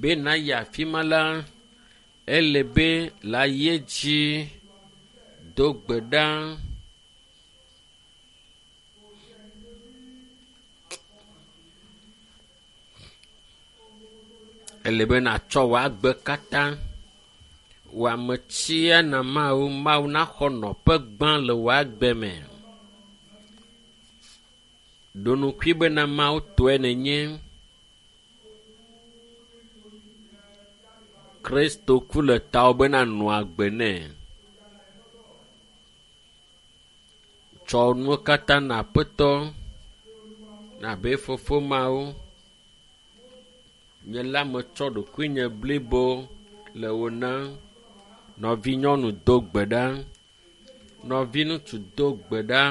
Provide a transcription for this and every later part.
Be nàyi afi ma la, ele be le ayi edzi do gbe ɖa. Ele be nàtsɔ wò agbe katã, wò ametsia na Mawu, Mawu naxɔ nɔƒe gbã le wò agbe me. Ɖo ŋkui bena Mawu tɔe nènye. Kristo ku le tawò be nanɔ agbe nɛ. Tsɔ nuwo katã na Aƒetɔ, abe fofo Mawu. Nye la metsɔ ɖokuinye blibo le wò nam. Nɔvinyɔnu do gbe ɖa. Nɔviŋutsu do gbe ɖa.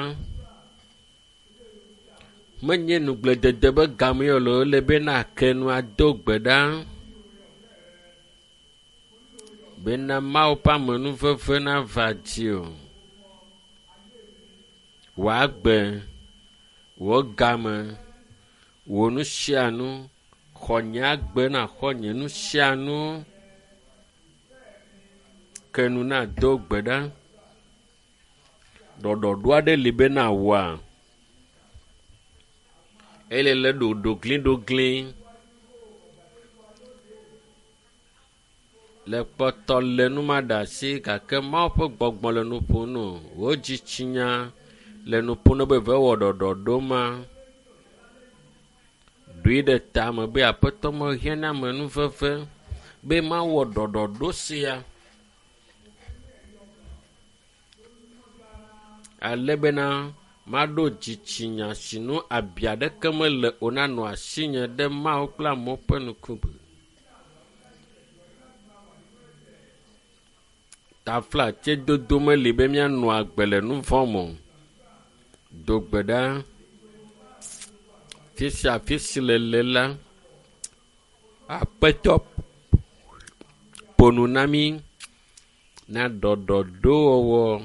Menye nugledede be game o le ele be nake nu ado gbe ɖa. Bena Mawu ƒe amenuveve nava dziwò. Wò agbe, wò game, wò nu sia nu, xɔ nye agbe naxɔ nye nu sia nu. Ke nu nado gbe ɖa. Ɖɔɖɔɖo aɖe li be nawɔa? Ele le ɖoɖogliɖoglĩ. Le kpɔtɔ le nu ma ɖe asi gake Mawu ƒe gbɔgbɔ le nu ƒom nɔ. Wò dzitsinya le nu ƒom nɔ be ve wɔ ɖɔɖɔɖo ma. Ɖoe ɖe tame be Aƒetɔ mehiã na amenuveve be mawɔ ɖɔɖɔɖo sia. Ale bena maɖo dzitsinya si nu abi aɖeke mele o nanɔ asinye ɖe Mawu kple amewo ƒe ŋkume. Taflatsedodo meli be míanɔ agbe le nu vɔ̃ me o. Do gbe ɖa. Fi sia fi si le la, Aƒetɔ ƒo nu na mí na ɖɔɖɔɖowɔwɔ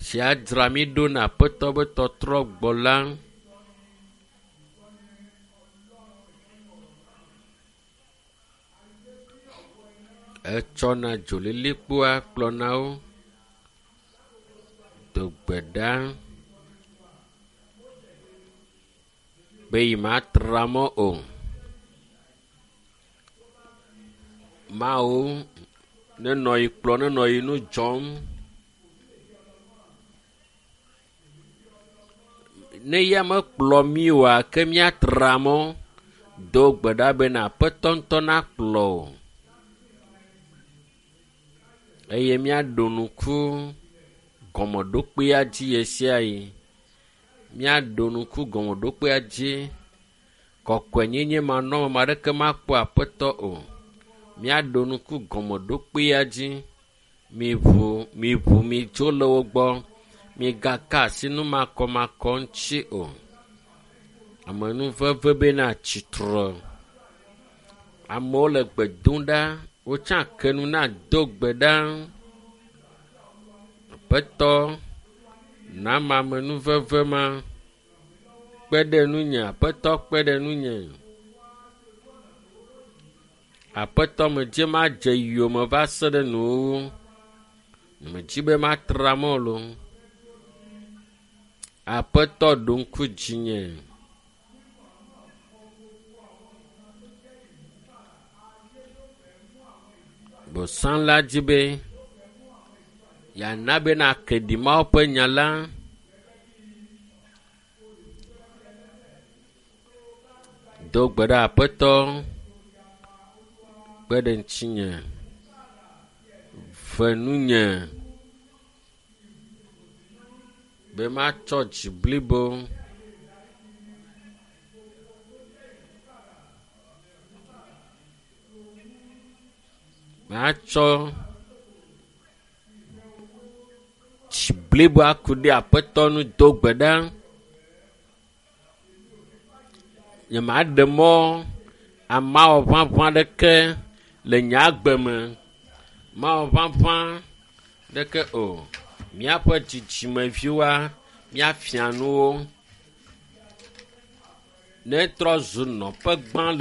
si adzra mí ɖo na Aƒetɔ be tɔtrɔ gbɔ la. Etsɔna dzolilikpoa kplɔna wo. Do gbe ɖa be yi matra mɔ o. Mawu nenɔ yi kplɔ nenɔ yi nu dzɔm. Ne ya mekplɔ mí oa, ke míatra mɔ. Do gbe ɖa bena Aƒetɔ ŋutɔ nakplɔ wò. Eye míaɖo ŋku gɔmeɖokpea dzi ɣe sia ɣi. Míaɖo ŋku gɔmeɖokpea dzi. Kɔkɔenyenye manɔme ame aɖeke makpɔ Aƒetɔ o. Míaɖo ŋku gɔmeɖokpea dzi. Miʋu, miʋu, midzo le wo gbɔ. Migaka asi nu makɔmakɔ ŋuti o. Amenuveve bena tsitre. Amewo le gbe dom ɖa. Wotsã ke nu na do gbe ɖa. Aƒetɔ, nama amenuveve ma. Kpe ɖe nunye, Aƒetɔ kpe ɖe nunye. Aƒetɔ medze madze yome va se ɖe nuwuwu. Medzi be matra mɔ loo. Aƒetɔ ɖo ŋku dzinye. Bosã la dzi be yeana be nake ɖi Mawu ƒe nya la. Do gbe ɖa Aƒetɔ, kpe ɖe ŋutinye, ve nunye be matsɔ dzi blibo. Matsɔ dzi blibo aku ɖe Aƒetɔ nu do gbe ɖa. Nyemaɖe mɔ amawɔ ʋaʋã ɖeke le nye agbe me. Mawɔ ʋaʋã ɖeke o. Míaƒe dzidzimeviwoa, míafia nu wo. Ne trɔ zu nɔƒe gbã le